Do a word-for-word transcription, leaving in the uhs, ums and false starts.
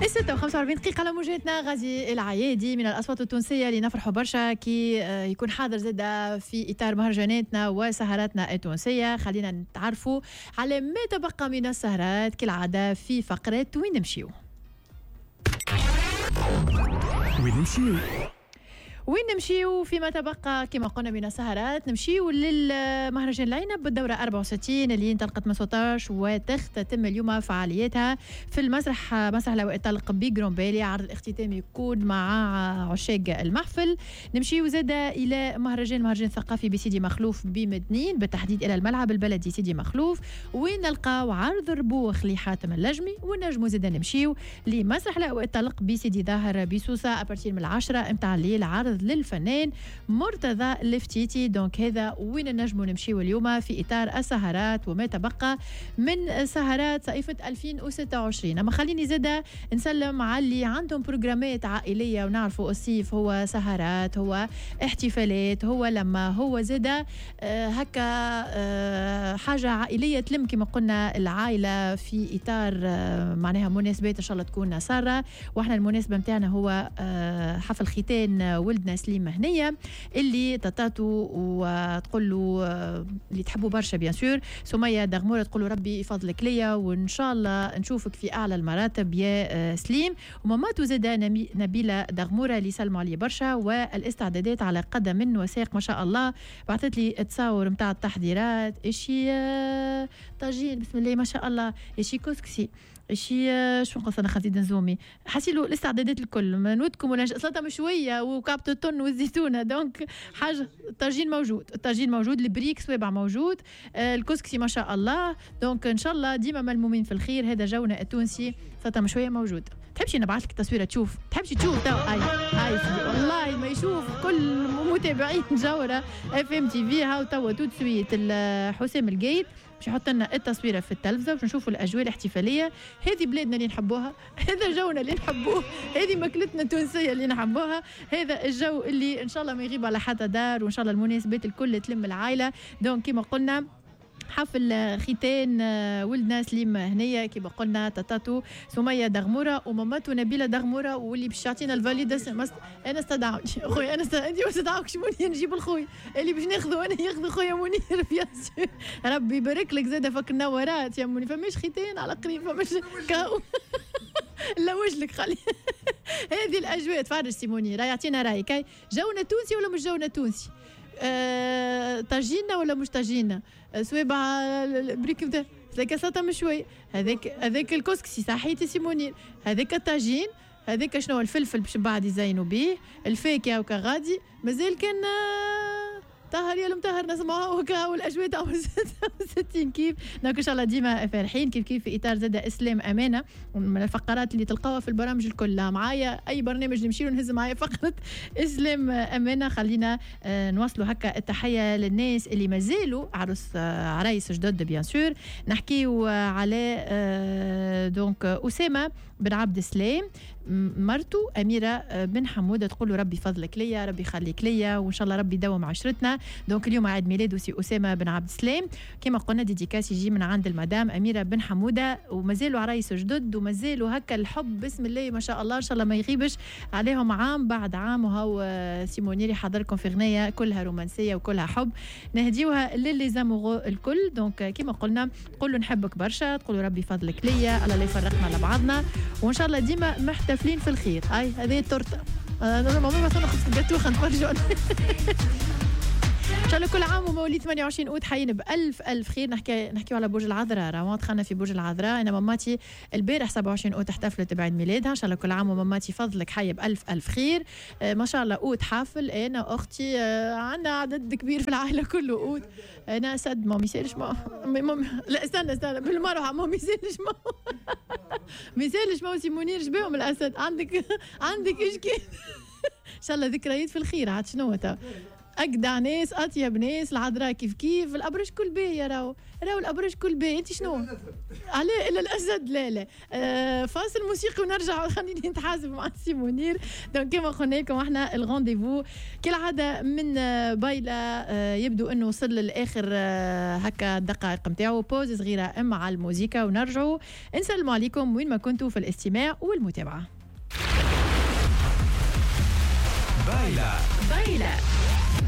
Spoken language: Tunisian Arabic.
ستة وخمسة وأربعين دقيقة على موجاتنا. غازي العيادي من الأصوات التونسية اللي نفرحوا برشا كي يكون حاضر زادة في إطار مهرجاناتنا وسهراتنا التونسية. خلينا نتعرفوا على ما تبقى من السهرات كالعادة في فقرة وين نمشيو. وين نمشيو؟ وين نمشيو فيما تبقى كما قلنا من السهرات؟ نمشيو للمهرجان العنب بالدورة أربعة وستين اللي انطلقت من ستة عشر وتختتم اليوم فعالياتها في المسرح مسرح لواء الطلق بجرومبالي. عرض الاختتام يكون مع عشاق المحفل. نمشيو زادة إلى مهرجان مهرجان ثقافي بسيدي مخلوف بمدنين، بالتحديد إلى الملعب البلدي سيدي مخلوف، وين نلقاو عرض ربوخ لحاتم اللجمي. ونجمو زادة نمشيو لمسرح لواء الطلق بسيدي ظاهر بسوسة à partir من العشرة متاع الليل، عرض للفنان مرتضى الفتيتي. donc هذا وين نجمو نمشيو اليوم في اطار السهرات وما تبقى من سهرات صيفة ألفين وستة وعشرين. اما خليني زاده نسلم على اللي عندهم programme ات عائلية، ونعرفوا الصيف هو سهرات، هو احتفالات، هو لما هو زاده هكا حاجة عائلية تلم كما قلنا العائلة في اطار معناها مناسبات ان شاء الله تكون ساره. واحنا المناسبة نتاعنا هو حفل ختان ولدنا سليم هنيه اللي تطاتو وتقول له اللي تحبوا برشا bien sûr سميه دغموره، تقول له ربي يفضلك ليا وان شاء الله نشوفك في اعلى المراتب يا سليم. وماماتو زاده نبيلة دغموره اللي سلموا عليه برشا، والاستعدادات على قدم وساق ما شاء الله. بعثت لي تصاور نتاع التحضيرات، اشي طاجين بسم الله ما شاء الله، اشي كسكسي، شي شو نقص انا خزيد نزومي، حسيلو الاستعدادات الكل ما نودكم ولا سلطة مشوية وكعبه التن والزيتونه. donc حاجة الطاجين موجود، الطاجين موجود، البريك سوابع موجود، الكسكسي ما شاء الله. donc ان شاء الله ديما ملمومين في الخير. هذا جونا التونسي، سلطة مشوية موجود. تحبش نبعث لك تصويره تشوف؟ تحبش تشوف تو؟ اي اي سيدي والله ما يشوف كل متابعين جوهره اف ام تي في. هاو توا tout de suite حسام القايد باش يحط لنا التصويره في التلفزة باش نشوفوا الاجواء الاحتفالية. هذه بلادنا اللي نحبوها، هذا جونا اللي نحبوه، هذه ماكلتنا التونسية اللي نحبوها، هذا الجو اللي ان شاء الله ما يغيب على حتى دار، وان شاء الله المناسبات الكل تلم العائلة. donc كما قلنا حفل ختان ولدنا سليم هنيه كما قلنا تاتاتو سميه دغموره وماماتو نبيلة دغموره، واللي باش يعطينا ال validation. مست... انا استدعوني خويا، انا است... انت ما استدعوكش منير، نجيب الخوي اللي باش ناخذه انا، ياخذ خويا منير bien sûr. ربي يبارك لك زاده فك النورات يا منير. فماش ختان على قريب، فماش كاو لا وجلك خلي هذه الاجواء. تفرج سي منير يعطينا رايك، جونا تونسي ولا مش جونا تونسي؟ أه، طاجينة ولا مش طاجينة؟ سويبع البريك نتاع هذاك سلطة مشوية، هذاك هذاك الكسكسي صحيتي سي منير، هذاك الطاجين، هذاك شنو الفلفل باش بعد يزينوا به، الفاكهة وكغادي مازال كان طهر يا المطهر نسمعوها وكا والاجواء تاع ستين كيف. donc ان شاء الله ديما فرحين كيف كيف في اطار زاد اسلام امانه، من الفقرات اللي تلقاوها في البرامج الكل معايا، اي برنامج نمشي له نهز معايا فقره اسلام امانه. خلينا نواصلوا هكا التحية للناس اللي مازالوا عروس عرايس جدد bien sûr. نحكيو على donc اسامة بن عبد السلام، مرته اميره بن حموده، تقول له ربي فضلك ليا، ربي يخليك ليا، وان شاء الله ربي يدوم عشرتنا. donc اليوم عيد ميلاده سي اسامة بن عبد السلام، كما قلنا dédicace يجي من عند المدام اميره بن حموده. ومازالوا عرايس جدد ومازالوا هكا الحب بسم الله ما شاء الله، ان شاء الله ما يغيبش عليهم عام بعد عام. وهو سي منير يحضركم في غنية كلها رومانسية وكلها حب، نهديوها ل les amoureux الكل. donc كما قلنا تقول له نحبك برشا، تقول له ربي فضلك ليا، الله لا يفرقنا على بعضنا، وان شاء الله ديما محتفلين في الخير. هاي هذه التورتة، انا ماما مثلا خبز الجاتو خنتفرجوا. ان شاء الله كل عام ومواليد ثمانية وعشرين اوت حيين بالف الف خير. نحكي نحكيو على برج العذراء، راهو دخلنا في برج العذراء. انا ماماتي البارح سبعة وعشرين اوت احتفلت بعيد ميلادها، ان شاء الله كل عام وماماتي فضلك حيه بالف الف خير. آه ما شاء الله اوت حافل، انا واختي آه عندنا عدد كبير في العائلة كله اوت. انا اسد ما يسالش ما لا استنى استنى بالمروحه ما يسالش ما ما يسالش ما سي منير شبيهم الاسد عندك عندك اشكال. ان شاء الله ذكريات في الخير. عاد شنو اجدع ناس، اطيب ناس، العذراء كيف كيف، الابراج كل باهيه، راهو راهو الابراج كل باهي. انت شنو؟ علاه الا الاسد؟ لا لا. آه فاصل موسيقي ونرجع، خليني نتحاسب مع سي منير. donc كما قلنا لكم احنا ال rendez-vous كالعادة من بايلا آه يبدو انه وصل لاخر آه هكا الدقائق نتاعو. pause صغيرة مع الموسيقى ونرجعوا نسلموا عليكم وين ما كنتوا في الاستماع والمتابعة. بايلا بايلا.